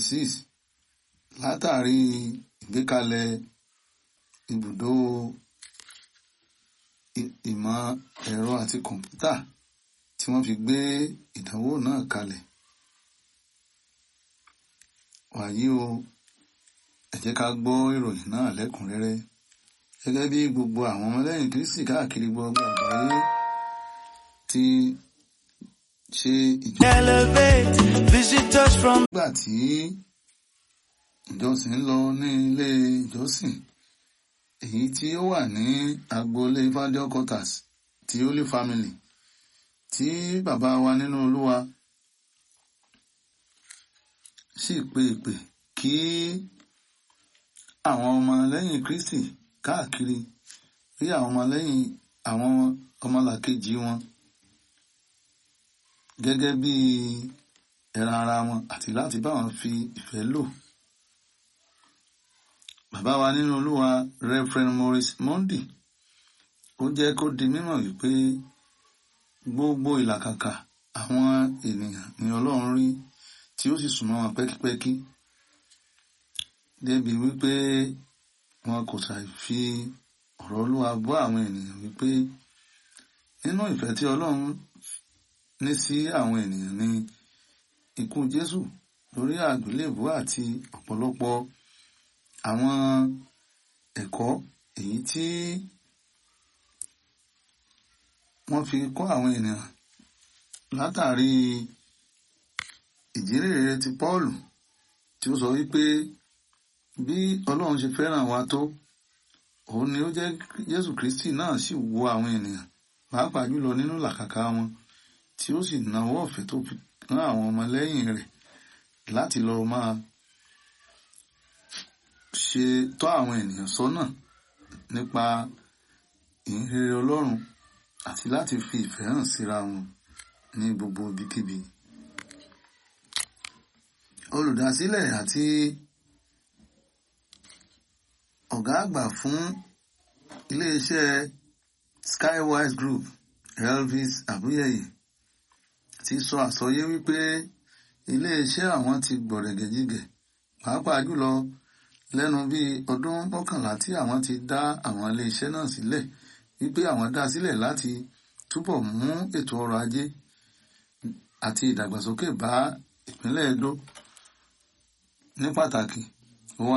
2026 látàrí ìgbékalẹ̀ ibùdó ìmọ̀ ẹ̀rọ àti kọ̀ǹpútà tí wọ́n fi gbé ìdánwò náà kalẹ̀. Wàyí o, ẹ jẹ́ ká gbọ́ ìròyìn náà lẹ́kùnrẹ́rẹ́. Gẹ́gẹ́ bí gbogbo àwọn ọmọlẹ́yìn Kristi káàkiri gbogbo àgbáyé ti ṣe ìjọ. Elevate visitors from Nígbà tí ìjọsìn ń lọ ní ilé ìjọsìn èyí tí ó wà ní agboolé Fájọ Quarters ti Holy Family tí bàbá wa nínú Olúwa sì pe ìpè kí àwọn ọmọlẹ́yìn Kristi káàkiri rí àwọn ọmọlẹ́yìn àwọn ọmọlàkejì wọn gẹ́gẹ́ bí ẹran ara wọn àti láti bá wọn fi ìfẹ́ lò. Bàbá wa nínú Olúwa Reverend Maurice Monday ó jẹ́ kó di mímọ̀ wípé gbogbo ìlàkàkà àwọn ènìyàn ni Ọlọ́run rí tí ó sì súnmọ́ wọn pẹ́kípẹ́kí débi wípé wọn kò ṣàì fi ọ̀rọ̀ Olúwa bọ́ àwọn ènìyàn wípé nínú ìfẹ́ tí Ọlọ́run ní sí àwọn ènìyàn ni ikú Jésù lórí àgbélébùú àti ọ̀pọ̀lọpọ̀ àwọn ẹ̀kọ́ èyí tí wọ́n fi kọ́ àwọn ènìyàn látàrí ìjírèrè ti Pọ́ọ̀lù tí ó sọ wípé bí Ọlọ́run ṣe fẹ́ràn wa tó, òun ni ó jẹ́ Jésù Kristi náà sì wo àwọn ènìyàn pàápàá jùlọ nínú làkàkà wọn tí ó sì nawọ́ ọ̀fẹ́ tó fi rán àwọn ọmọlẹ́yìn rẹ̀ láti lọ máa ṣe tọ́ àwọn ènìyàn sọ́nà nípa ìhìnrere Ọlọ́run àti láti fi ìfẹ́ hàn síra wọn ní gbogbo ibikíbi. Olùdásílẹ̀ àti ọ̀gá àgbà fún iléeṣẹ́ Skywise Group, Elvis Abuyeye, ti sọ àsọyé wípé iléeṣẹ́ àwọn ti gbọ̀rẹ̀gẹ̀jigẹ̀ pàápàá jùlọ lẹ́nu bíi ọdún 11 tí àwọn ti dá àwọn iléeṣẹ́ náà sílẹ̀, wípé àwọn dá sílẹ̀ láti túbọ̀ mú ètò ọrọ̀ ajé àti ìdàgbàsókè bá ìpínlẹ̀ Edo ní pàtàkì. Ó wá